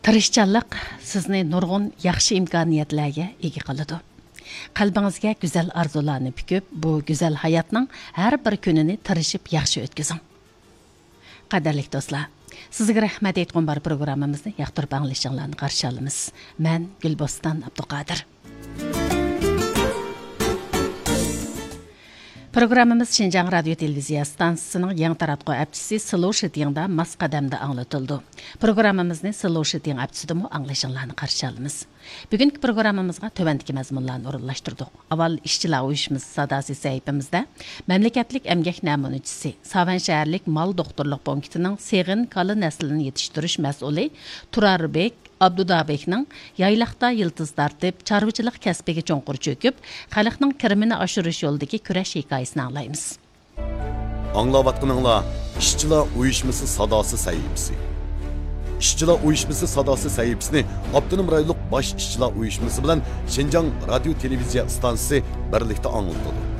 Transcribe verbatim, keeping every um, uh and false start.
تىرىشچانلىق سىزنى نۇرغۇن ياخشى ئىمكانىيەتلەرگە ئىگە قىلىدۇ. قەلبىڭىزگە گۈزەل ئارزۇلارنى پۈكۈپ، بۇ گۈزەل ھاياتنىڭ ھەر بىر كۈنىنى تىرىشىپ ياخشى ئۆتكۈزۈڭ. قەدىرلىك دوستلار، سىزگە رەھمەت ئېيتقۇم بار پروگراممىمىزنى ياقتۇرۇپ ئاڭلىشىڭلارنى قارشى ئالىمىز. مەن گۈلبوستان ئابدۇقادىر. پروگراممىمىز شىنجاڭ رادىيو تېلېۋىزىيە ئىستانسىسىنىڭ يېڭى تاراتقۇ ئەپچىسى سلوشىتىڭدا ماس قەدەمدە ئاڭلىتىلىدۇ. پروگراممىمىزنى سلوشىتىڭ ئەپچىسىدىمۇ ئاڭلىشىڭلارنى قارشى ئالىمىز. بۈگۈنكى پروگراممىمىزغا تۆۋەندىكى مەزمۇنلارنى ئورۇنلاشتۇردۇق. ئاۋۋال ئىشچىلار ئۇيۇشمىسى ساداسى سەھىپىمىزدە مەملىكەتلىك ئەمگەك نەمۇنىچىسى، ساۋەن شەھەرلىك مال دوختۇرلۇق پونكىتىنىڭ سېغىن كالا نەسلىنى يېتىشتۈرۈش مەسئۇلى تۇراربېك ئابدۇدابېكنىڭ يايلاقتا يىلتىز تارتىپ، چارۋىچىلىق كەسپىگە چوڭقۇر چۆكۈپ، خەلقنىڭ كىرىمىنى ئاشۇرۇش يولىدىكى كۈرەش ھېكايىسىنى ئاڭلايمىز. ئاڭلاۋاتقىنىڭلار ئىشچىلار ئۇيۇشمىسى ساداسى سەھىپىسى. ئىشچىلار ئۇيۇشمىسى ساداسى سەھىپىسىنى ئاپتونوم رايونلۇق باش ئىشچىلار ئۇيۇشمىسى بىلەن شىنجاڭ رادىيو تېلېۋىزىيە ئىستانسىسى بىرلىكتە ئاڭلىتىدۇ.